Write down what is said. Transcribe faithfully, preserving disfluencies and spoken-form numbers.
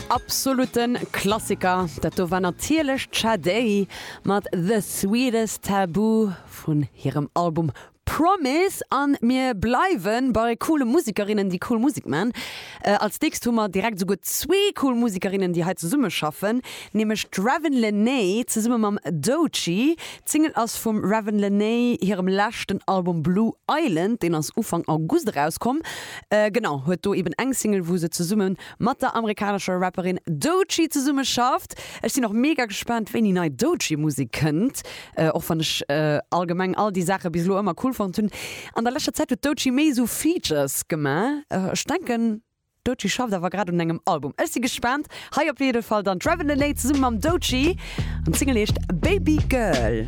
Absoluten Klassiker. Dat do war natierlech d'Sade mat The Sweetest Taboo vun hirem Album Promise an mir bleiwe bei coole Musekerinnen, déi cool Musek maachen. Äh, als nächst hu mer direkt souguer zwee cool Musekerinnen, déi hei zesumme schaffen, nämlech d'Ravyn Lenae zesumme mam Doechii. D'Single ass vum Ravyn Lenae hirem leschten Album Blue Island, deen ass Ufank August erauskomm. Äh, genau, huet do eben eng Single, wou se zesumme mat der amerikanescher Rapperin Doechii zesumme schafft. Ech sinn och mega gespaant, wéini nei Doechii Musek kënnt. Äh, och wann ech äh, allgemeng all déi Saache bis elo ëmmer cool fonnt hunn. An der leschter Zäit huet Doechii méi sou Features gemaach. Äh, ech denken, Doechii schafft awer grad un engem Album. Ech si gespaant. Hei op jidde Fall dann Ravyn Lenae zesumme mam Doechii an d'Single heescht Baby Girl.